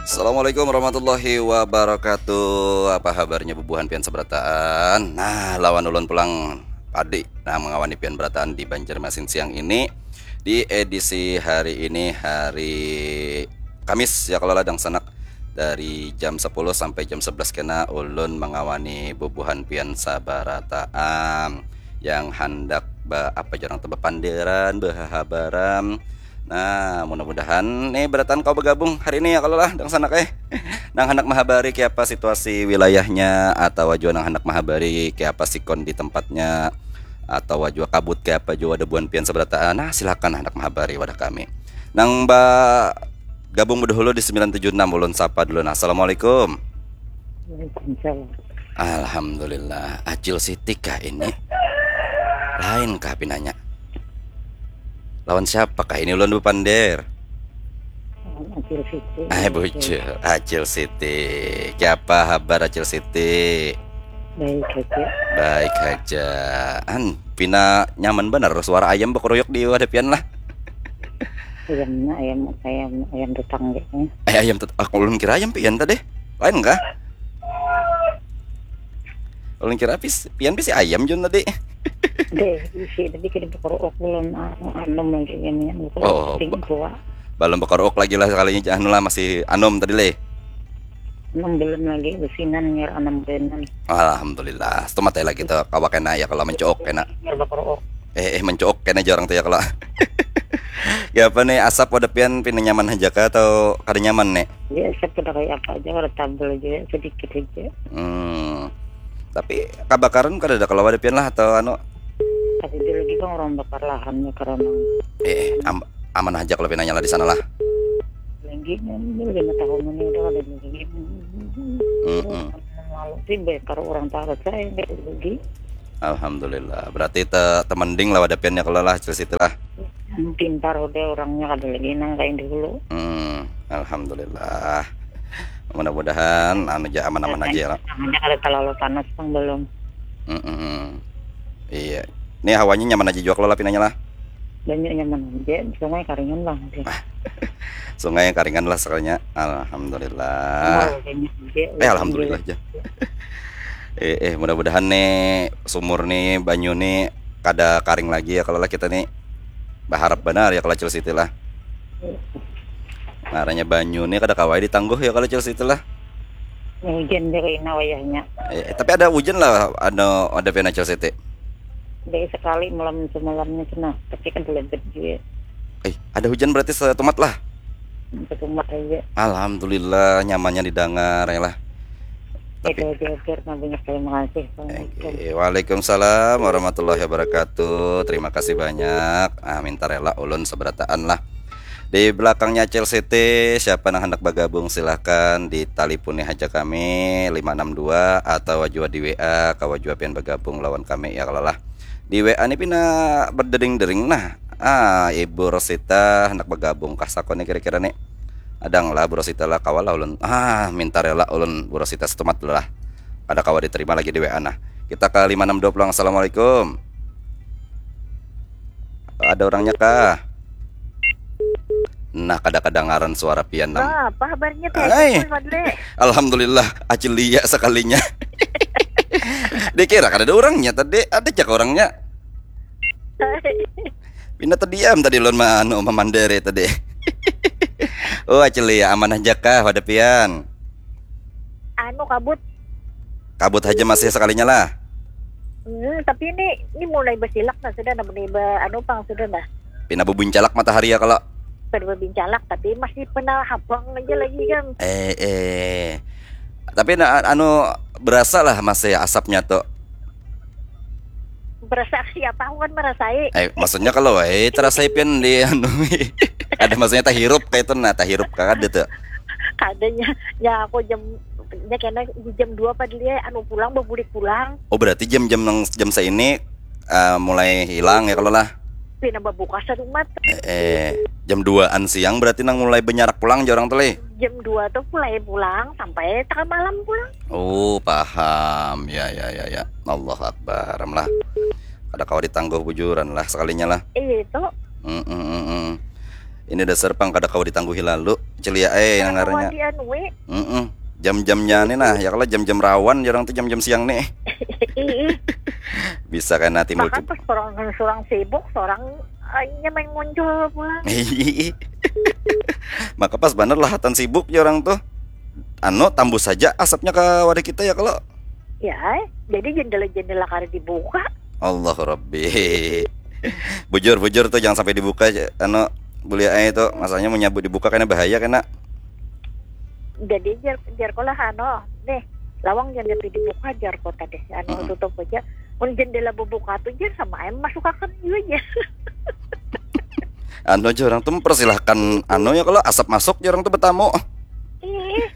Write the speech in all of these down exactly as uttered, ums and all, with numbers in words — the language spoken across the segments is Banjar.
Assalamualaikum warahmatullahi wabarakatuh. Apa habarnya bubuhan pian sabarataan? Nah, lawan ulun pulang Padi. Nah, mangawani pian barataan di Banjarmasin siang ini. Di edisi hari ini, hari Kamis ya, kalau ladang sanak, dari jam sepuluh sampai jam sebelas kena ulun mangawani bubuhan pian sabarataan yang handak ba apa jarang tu bapanderan, bahahabaran. Nah, mudah-mudahan nih barataan kau bergabung hari ini ya, kalau lah dang sanak eh. Nang handak mahabari kiapa situasi wilayahnya, atau jua nang handak mahabari kiapa sikon di tempatnya, atau jua kabut kiapa jua ada buan pian sabarataan. Nah, silakan handak mahabari wadah kami. Nang ba gabung bedahulu di sembilan tujuh enam, ulun sapa dulu. Nah, assalamualaikum. Waalaikumsalam. Alhamdulillah, Acil Siti kah ini? Lain kah pinanya? Lawan siapa kah ini ulun bapander? Lawan Acil Siti. Ai, bujur, Acil Siti. Kiapa habar, Acil Siti? Baik haja. Baik haja. An, pina nyaman banar suara ayam bakaruyuk di wadah pian lah. Ayam, ayam, ayam, ayam tetangga. Eh, ayam tet-, aku ulun kira ayam pian tadi. Lain kah? Ulun kira pis, pian pisi ayam Jun tadi. Deh, isi tadi kada bakaruuk belum, anu, anum lagi ini, anu, Oh, ting ba-, tua. Balum bakaruuk lagi lah sekalinya, anu lah, masih anum tadi leh. Anum belum lagi, besinan ngira anum besinan. Alhamdulillah, setumat ya lagi tuh, kawa kena ya kalau mencuuk kena. Kada bakaruuk. Eh, eh, mencuuk kena jarang tuh ya kalau. Ya apa nih, asap wadah pian pina nyaman aja kah atau kada nyaman nih? Ya, asap kada kayak apa aja, kada tabel aja, sedikit aja. Hmm. Tapi kabakaran kada ada kalau wadah pian lah atau anu? Kada ada lagi bang orang bakar lahannya karena Eh, eh, am-, aman aja kalau pinanya lah di sana lah. Lagi, ini lima tahun ini udah ada lagi. Mm-mm. Lalu sih bakar orang taruh saya nggak rugi. Alhamdulillah. Berarti te, temending lah wadah pian ya kalau lah, Acil Siti lah. Pintar udah orangnya, kada lagi nang kain dulu. Hmm, alhamdulillah. Mudah-mudahan anu aja aman-aman aja ya lah. Tangannya kada terlalu panas pang belum. Mm-mm. Iya. Ini hawanya nyaman aja juga kalau lah pinanya lah. Banyak nyaman aja, sungai karingan bang. Sungai karingan lah sekalinya. Alhamdulillah. Oh, banyak aja. Eh, alhamdulillah aja. Eh, eh, mudah-mudahan nih sumur nih, banyu nih kada karing lagi ya kalau lah kita nih baharap benar ya kalau Acil Siti lah. Ngarannya banyu nih kada kawai ditangguh ya kalau Acil Siti lah. Hujan dari ina wayahnya. Eh, tapi ada hujan lah, ada, ada pian Acil Siti. Dari sekali malam semalamnya sana, tapi kan lebet juga. Eh, ada hujan berarti setumat lah. Setumat aja. Alhamdulillah, nyamannya didengar ya lah. Tapi itu aja, Fir. Nah, banyak terima kasih. Assalamualaikum. Oke, waalaikumsalam warahmatullahi wabarakatuh. Terima kasih banyak. Ah, minta rela ulun seberataan lah. Di belakangnya Acil Siti, siapa nang hendak bergabung silahkan ditalipuni haja kami lima enam dua atau jua di W A, kawa jua pian bergabung lawan kami ya kalau lah. Di W A ni pina berdering-dering nah. Ah, Ibu Rosita hendak bergabung kah sako ni kira-kira ni? Adang lah Bu Rosita lah, kawa lah ulun. Ah, minta rela ulun Bu Rosita setumat lah. Kada kawa diterima lagi di W A nah. Kita ke lima enam dua pulang. Assalamualaikum. Ada orangnya kah? Nah, kada kadangaran suara pian nam. Nah, apa habarnya teh? Hai. Alhamdulillah, Acil Lia sekalinya. Dikira kada ada orangnya tadi, ada cak orangnya. Pina terdiam tadi lon ma-, anu, mamandere tadi. Oh, Acil Lia, amanah jakah wadah pian? Anu, kabut. Kabut haja masih sekalinya lah. Hmm, tapi ini, ini mulai basilak nah sudah, nah, mulai ba-, anu pang sudah nah. Pina babuncalak matahari ya kalau. Kada babincalak, tapi masih pina habang aja lagi kan. Eh, eh. Tapi na-, anu, berasa lah masih asapnya tu. Berasa siapa? Aku kan merasai. Eh, maksudnya kalau, eh, terasa pian di anu, ada maksudnya tahirup kayak itu, nah, tahirup kada tuh. Kadanya, ya aku jam, ya kena di jam dua padahal ya, anu pulang, babulik pulang. Oh, berarti jam-jam nang jam saini, eh, mulai hilang ya kalau lah. Pina babuka sarumat. Eh, eh, jam duaan siang berarti nang mulai banyarak pulang jar orang tuh, leh. Jam dua tuh mulai pulang sampai tengah malam pulang. Oh, paham. Ya, ya, ya, ya. Allahu Akbar. Am lah. Kada kawa ditangguh bujuran lah sekalinya lah. Iya, itu. Mm, mm, mm, mm. Ini dasar pang kada kawa ditangguhi lalu. Celia eh, kada kawa ngarannya dianui. Mm-mm. Jam-jamnya nih nah, ya kalau jam-jam rawan jarang tuh jam-jam siang nih. Bisa kena timbul. Maka pas orang, orang sibuk, orang eh, nya main muncul pulang. Maka pas bener lah hatan sibuk ya orang tuh. Anu tambus saja asapnya ke wadah kita ya kalau. Ya, jadi jendela-jendela kada dibuka. Allah Rabbi. Bujur, bujur tuh jangan sampai dibuka anu bulia ai tuh. Masanya menyabut dibuka kena bahaya kena. Jadi jar jar lah anu nih lawang jangan sampai dibuka jar kota deh anu tutup aja. Mun jendela bubuka tuh jar sama ayam masuk akan juga jar. Anu aja orang tuh mempersilahkan anu ya kalau asap masuk ya orang tuh bertamu. Ih.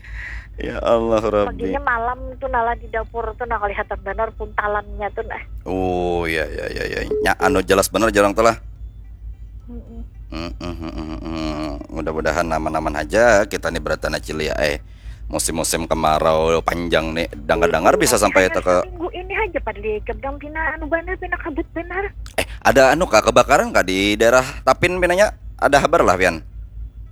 Ya Allah Rabbi. Paginya malam tuh nala di dapur tuh nah kelihatan benar puntalannya tuh nah. Oh ya ya ya ya. Nya anu jelas benar jarang tuh lah. Mm-mm. Mm-mm. Mudah-mudahan aman-aman aja kita nih beratana cili ya eh. Musim-musim kemarau panjang nih dengar-dengar bisa sampai itu ke minggu ini aja pada lihat bilang pina anu benar pina kabut benar. Eh ada anu kak kebakaran kak di daerah Tapin pinanya ada kabar lah pian.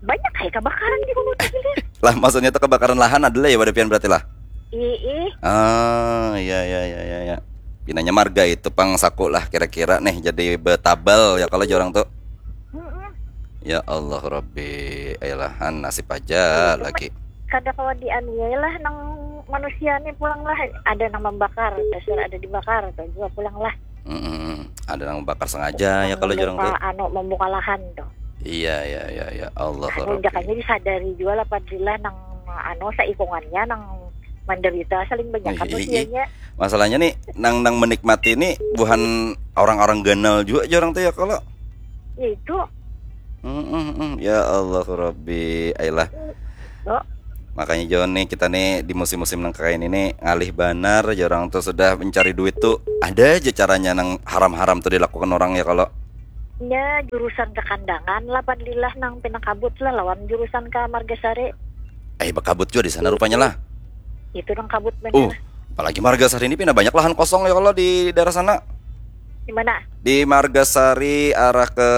Banyak kayak kebakaran di gunung Tapin. Lah maksudnya itu kebakaran lahan ada lah ya pada pian berarti lah. Ii. Ah iya iya iya iya ya. Pinanya marga itu pang saku lah kira-kira nih jadi betabal ya kalau jorang tuh. Mm-mm. Ya Allah Rabbi, ayolah han nasib aja lagi. Kada kawa dianiaya lah nang manusia ni pulang lah. Ada nang membakar, dasar ada dibakar tuh juga pulang lah. Mm-mm. Ada nang membakar sengaja ya kalau jorang tuh. Anu membuka lahan tuh. Iya iya iya iya Allah Rabbi. Anu, disadari juga lah padahal nang anu saikungannya nang menderita saling banyak kan usianya. Masalahnya nih nang nang menikmati ini bukan orang-orang ganal juga jorang tuh ya kalau. Ya itu. Mm-mm-mm. Ya Allah Rabbi, ayolah. Oh. Makanya John nih kita nih di musim-musim nang kayak ini nih ngalih banar jorang tuh sudah mencari duit tuh ada aja caranya nang haram-haram tuh dilakukan orang ya kalau. Ya jurusan ke Kandangan lah padlilah nang pinakabut lah lawan jurusan ke Margasari. Eh bakabut juga di sana rupanya lah. Itu nang kabut benar. Uh, apalagi Margasari ini pindah banyak lahan kosong ya kalau di daerah sana. Di mana? Di Margasari arah ke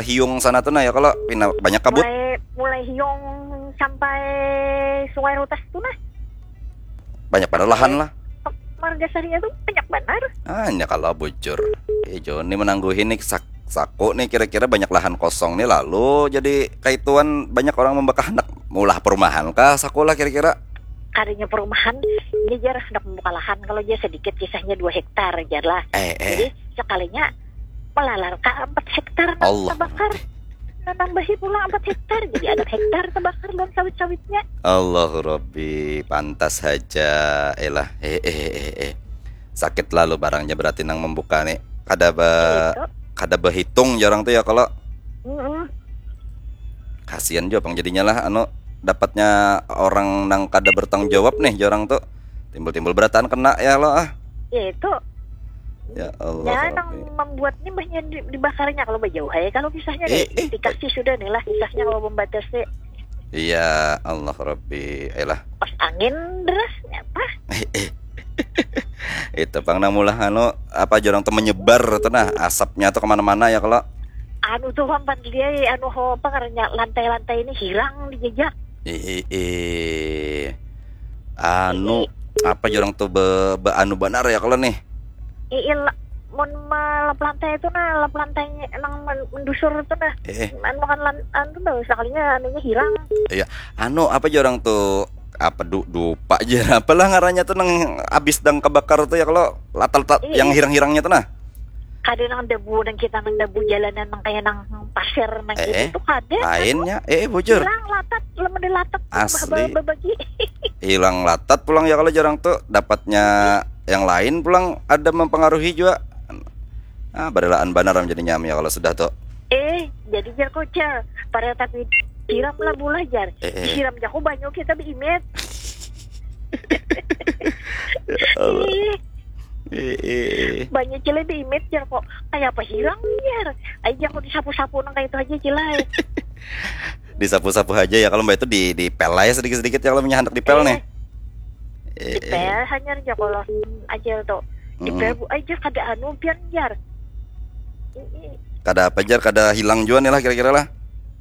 Hiung sana tuh nah ya kalau pindah banyak kabut. Mulai mulai Hiung sampai Sungai Rutas tuh nah. Banyak pada lahan lah. Margasarinya tuh banyak benar. Hanya kalau bujur. Eh Joni menangguhi nih sak saku nih kira-kira banyak lahan kosong nih lalu jadi kaituan banyak orang membakah anak mulah perumahan kah saku lah kira-kira. Kadinya perumahan ini jar hendak membuka lahan kalau dia sedikit kisahnya dua hektar jar lah. Eh, eh. Jadi sekalinya melalar ka empat hektar nang Allah terbakar. Menambahi pulang empat hektar jadi ada hektar terbakar dan sawit-sawitnya. Allahu Rabbi pantas saja elah eh eh eh eh sakit lalu barangnya berarti nang membuka nih kada be kada behitung jarang tuh ya kalau mm -mm. Kasihan juga pang jadinya lah anu dapatnya orang nang kada bertanggung jawab nih jarang tuh timbul-timbul berataan kena ya lo ah ya itu ya Allah ya nang membuat ni banyak dibakarnya kalau bajauh ya kalau kisahnya eh, eh, dikasih sudah nih lah kisahnya kalau membatasi iya Allah Rabbi ayolah pas angin derasnya apa eh, eh. Itu pang nang mulah anu apa jorang tuh menyebar tuh nah asapnya tuh kemana-mana ya kalau anu tuh pang pan dia anu ho apa ngarannya lantai-lantai ini hilang dijajak ih ih anu apa jorang tuh be, be anu banar ya kalau nih ih mun melap lantai itu nah lap lantainya emang mendusur itu nah eh. Anu kan lan, anu tuh sekalinya anunya hilang iya anu apa jorang tuh apa du, dupa aja apalah ngarannya tuh nang abis dang kebakar tuh ya kalau latar yang hirang-hirangnya tuh nah kada nang debu nang kita nang debu jalanan nang kayak nang pasir nang eh, gitu tuh kada lainnya eh bujur hilang latat lemah latat asli bagi hilang latat pulang ya kalau jarang tuh dapatnya yang lain pulang ada mempengaruhi juga ah barelaan banar menjadi nyam ya kalau sudah tuh eh jadi jar kocel pada tapi siram lah bulah jar eh, eh. Siram jago banyu kita beimit ya Allah. Eh, eh. Banyak cile diimit jar kok kayak apa hilang jar aja aku disapu-sapu nang kayak itu aja cile disapu-sapu aja ya kalau mbak itu di di pel aja sedikit-sedikit ya kalau punya hendak di pel eh. Nih eh, di pel eh. Hanya aja kalau aja tuh di pel bu aja kada anu pian jar kada apa jar kada hilang juga nih lah kira-kira lah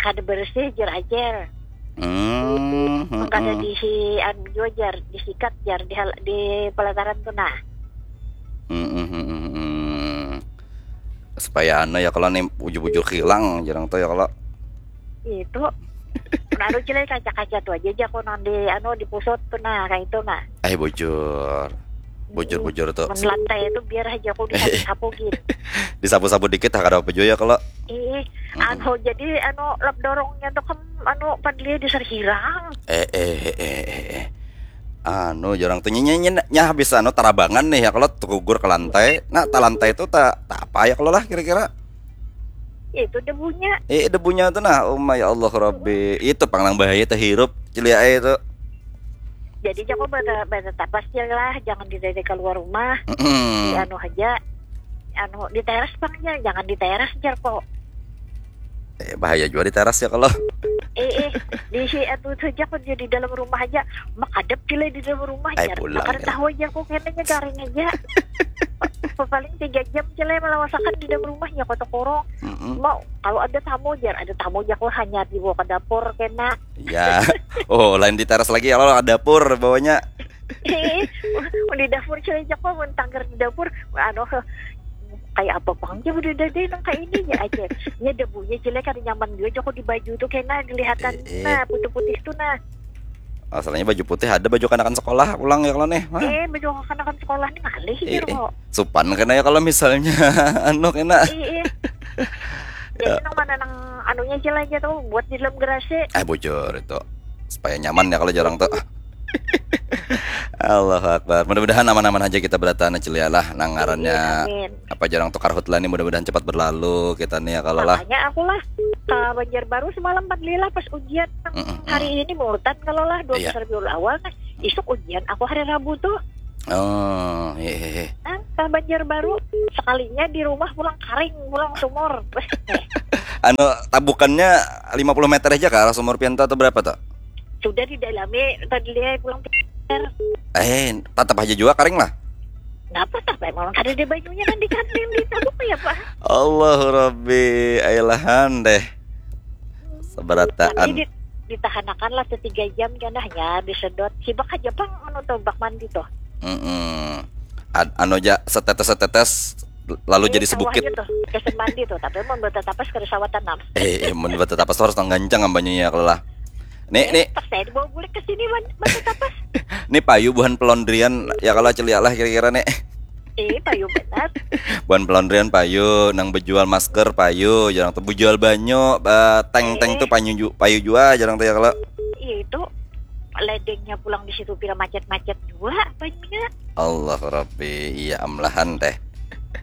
kada bersih jar ajar. Hmm, kada hmm. Diisi anu jua jar, disikat jar di, hal, di pelataran tu nah. Hmm, hmm, hmm, hmm, hmm. Supaya anu ya kalau nih bujur-bujur hilang jarang tuh ya kalau. Itu. Nah, anu cilai kaca-kaca tu aja aja aku nang di anu di pusat tu nah kayak itu nah. Eh bujur. Bujur-bujur tuh. Mun lantai itu biar aja aku disapu-sapu gitu. Disapu-sapu dikit ah, kada apa jua ya kalau. Ih, hmm. Anu jadi anu lap dorongnya tuh kan anu padli di serhirang. Eh eh eh eh eh. Anu jarang tuh nyenyen nyah habis anu tarabangan nih ya kalau tugugur ke lantai. Nah ta lantai itu tak tak apa ya kalau lah kira-kira. Itu debunya. Eh debunya tuh nah, oh my Allah Rabbi. Itu pang nang bahaya terhirup celia itu. Jadi jago bata bata tapas je lah, jangan di dada keluar rumah. Mm-mm. Di anu aja, anu di teras pang ya, jangan di teras jar kok. Eh, bahaya juga di teras ya kalau. Eh eh, di si anu saja kok di dalam rumah aja, makadap gila di dalam rumah. Ay, jar pulang, kada ya. Tahu aja kok kayaknya garing aja. Paling tiga jam cilai melawasakan di dalam rumahnya kota korong. Mm-mm. Mau kalau ada tamu jar, ada tamu aja kok hanya dibawa ke dapur kena. Ya. Oh, lain di teras lagi kalau ada dapur bawahnya. Eh, di dapur cilai aja kok mun tanggar di dapur, anu kayak apa bang aja udah deh nang kayak ini ya aja. Ya debunya cilai kada nyaman juga aja kok di baju tuh kena dilihatan eh, eh. Nah putih-putih tuh nah. Masalahnya baju putih ada baju kanakan sekolah pulang ya kalau nih. Hah? Eh baju kanakan sekolah nih ngalih eh, gitu eh. Kok. Supan kena ya kalau misalnya anu kena. Eh, eh. Jadi ya. Nang mana nang anunya aja lah aja tuh buat di dalam gerasi. Eh bujur itu. Supaya nyaman ya kalau jarang tuh. Allahu Akbar. Mudah-mudahan aman-aman aja kita berataan aja lah. Nang ngarannya amin. Apa jarang tuh karhutlah nih mudah-mudahan cepat berlalu kita nih ya kalau lah. Makanya aku lah ke Banjarbaru semalam empat lila pas ujian. Mm-mm. Hari ini mulutan kalau lah dua belas iya. Rabiul Awal nah. Isuk ujian aku hari Rabu tuh. Oh, hehehe. Nah, ke Banjarbaru sekalinya di rumah pulang karing, pulang sumur. Anu tabukannya lima puluh meter aja ke arah sumur pian atau berapa tuh? Sudah didalami tadi lihat pulang pinter. Eh, tatap aja juga karing lah. Napa tapi memang ada di banyunya kan di kantin di tabuk ya pak. Allahu Rabbi, ailahan deh. Seberataan. Ditahanakan lah setiga jam kan hanya disedot. Sibak aja pang anu tuh bak mandi tuh. Mm-mm. Ad, anu aja setetes setetes lalu eh, jadi sebukit. Tuh, kesan mandi tuh, tapi mau buat tapas kada sawat tanam. Eh, eh mau buat tapas harus tanggancang ambanya ya kalau lah. Nih, eh, nih. Pas saya dibawa bulik ke sini man, buat tapas. Nih payu buhan pelondrian ya kalau celia lah kira-kira nih. Eh, payu benar. Buhan pelondrian payu, nang bejual masker payu, jarang tuh bejual banyu, teng-teng eh. Tuh payu ju, payu jua jarang tuh ya kalau. Iya itu ledengnya pulang di situ pira macet-macet jua banyunya. Allah Rabbi, iya amlahan teh.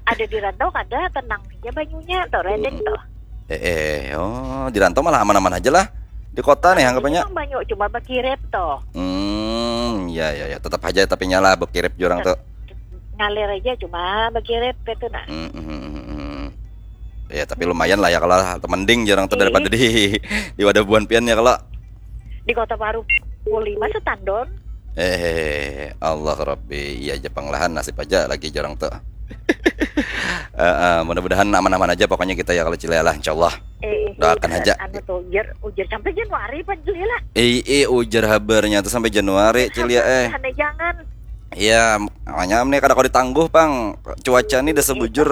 Ada di rantau kada tenang aja banyunya tuh ledeng hmm. Tuh. Eh, eh, oh di rantau malah aman-aman aja lah. Di kota nih anggapannya. Banyu cuma bakirep tuh. Hmm, ya ya ya, tetap aja tapi nyala bakirep jurang tuh. Ngalir aja cuma bakirep itu nah. Hmm, hmm, hmm, hmm. Ya tapi lumayan lah ya kalau mending jurang tuh daripada di di wadah buan pian ya kalau. Di kota baru pukul lima setandon. Eh, Allah Rabbi, iya aja panglahan nasib aja lagi jurang tuh. Uh, uh, mudah-mudahan aman-aman aja pokoknya kita ya kalau Cilia lah insyaallah. Eh, eh, doakan aja. Anu tuh, ujar, ujar sampai Januari pan Cilia lah. Eh, eh, ujar habarnya tuh sampai Januari Cilia eh. Jangan. Iya, makanya nih kada kau ditangguh pang. Cuaca nih udah sebujur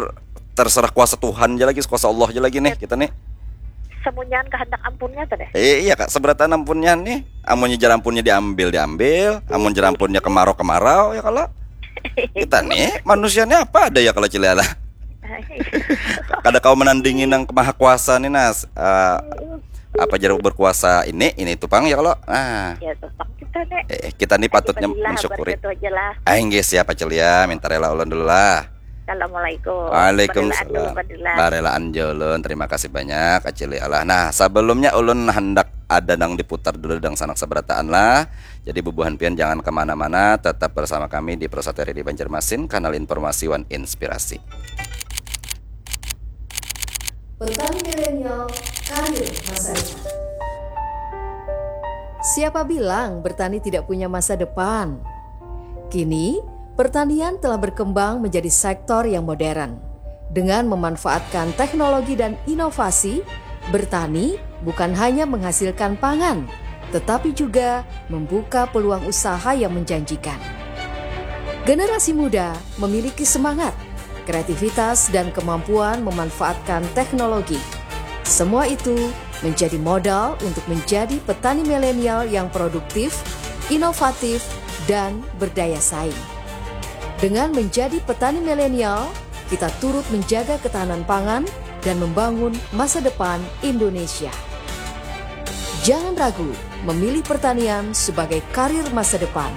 terserah kuasa Tuhan aja lagi, kuasa Allah aja lagi nih kita nih. Semunyan kehendak ampunnya tuh deh. Eh, iya kak, seberatan ampunnya nih. Amunnya jar ampunnya diambil diambil, amun jar ampunnya kemarau kemarau ya kalau. Kita nih manusianya apa ada ya kalau Cilia lah. Kada kau menandingi nang maha kuasa nih nas. Uh, apa jar berkuasa ini ini tuh pang ya kalau. Nah. Ya tuh pang kita nih. Eh, kita nih patutnya mensyukuri. Ah, inggih siapa Cilia, minta rela ulun dulu lah. Assalamualaikum. Waalaikumsalam. Barelaan jolon. Terima kasih banyak Acili Allah. Nah, sebelumnya ulun hendak ada nang diputar dulu dang sanak seberataan lah. Jadi bubuhan pian jangan kemana-mana, tetap bersama kami di Prosateri di Banjarmasin, kanal informasi wan inspirasi. Petani milenial, karir masa depan. Siapa bilang bertani tidak punya masa depan? Kini, pertanian telah berkembang menjadi sektor yang modern. Dengan memanfaatkan teknologi dan inovasi, bertani bukan hanya menghasilkan pangan, tetapi juga membuka peluang usaha yang menjanjikan. Generasi muda memiliki semangat, kreativitas, dan kemampuan memanfaatkan teknologi. Semua itu menjadi modal untuk menjadi petani milenial yang produktif, inovatif, dan berdaya saing. Dengan menjadi petani milenial, kita turut menjaga ketahanan pangan dan membangun masa depan Indonesia. Jangan ragu memilih pertanian sebagai karir masa depan.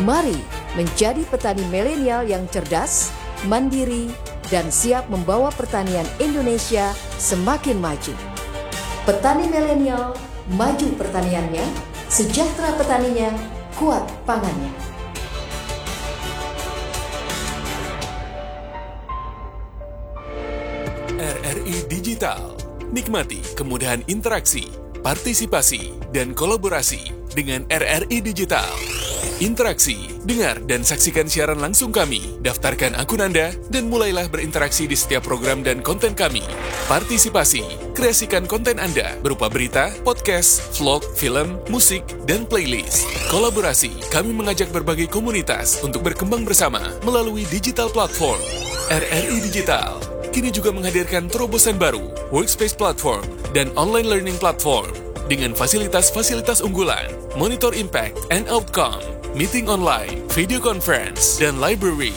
Mari menjadi petani milenial yang cerdas, mandiri, dan siap membawa pertanian Indonesia semakin maju. Petani milenial, maju pertaniannya, sejahtera petaninya, kuat pangannya. R R I Digital. Nikmati kemudahan interaksi, partisipasi, dan kolaborasi dengan R R I Digital. Interaksi, dengar dan saksikan siaran langsung kami. Daftarkan akun Anda dan mulailah berinteraksi di setiap program dan konten kami. Partisipasi, kreasikan konten Anda berupa berita, podcast, vlog, film, musik, dan playlist. Kolaborasi, kami mengajak berbagai komunitas untuk berkembang bersama melalui digital platform. R R I Digital kini juga menghadirkan terobosan baru, Workspace Platform, dan Online Learning Platform dengan fasilitas-fasilitas unggulan, monitor impact and outcome, meeting online, video conference, dan library.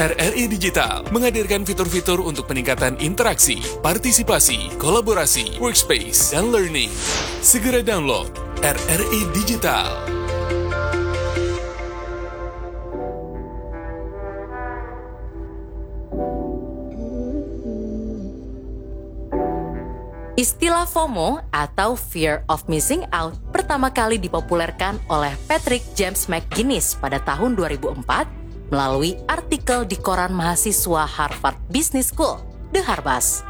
R R I Digital menghadirkan fitur-fitur untuk peningkatan interaksi, partisipasi, kolaborasi, workspace, dan learning. Segera download R R I Digital. Istilah FOMO atau Fear of Missing Out pertama kali dipopulerkan oleh Patrick James McGuinness pada tahun dua ribu empat melalui artikel di koran mahasiswa Harvard Business School, The Harvest.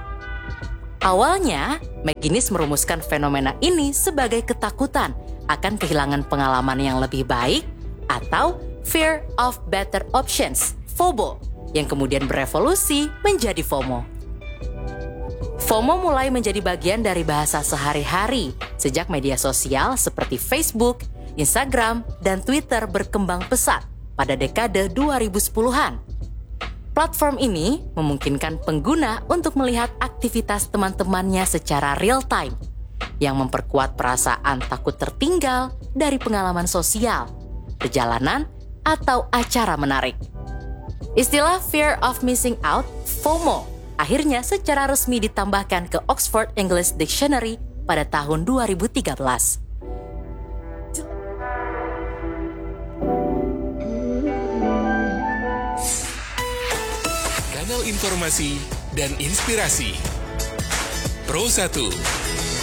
Awalnya, McGuinness merumuskan fenomena ini sebagai ketakutan akan kehilangan pengalaman yang lebih baik atau Fear of Better Options, FOBO, yang kemudian berevolusi menjadi FOMO. FOMO mulai menjadi bagian dari bahasa sehari-hari sejak media sosial seperti Facebook, Instagram, dan Twitter berkembang pesat pada dekade dua ribu sepuluhan. Platform ini memungkinkan pengguna untuk melihat aktivitas teman-temannya secara real time, yang memperkuat perasaan takut tertinggal dari pengalaman sosial, perjalanan, atau acara menarik. Istilah Fear of Missing Out, FOMO, akhirnya secara resmi ditambahkan ke Oxford English Dictionary pada tahun dua ribu tiga belas. Kanal informasi dan inspirasi. Pro satu.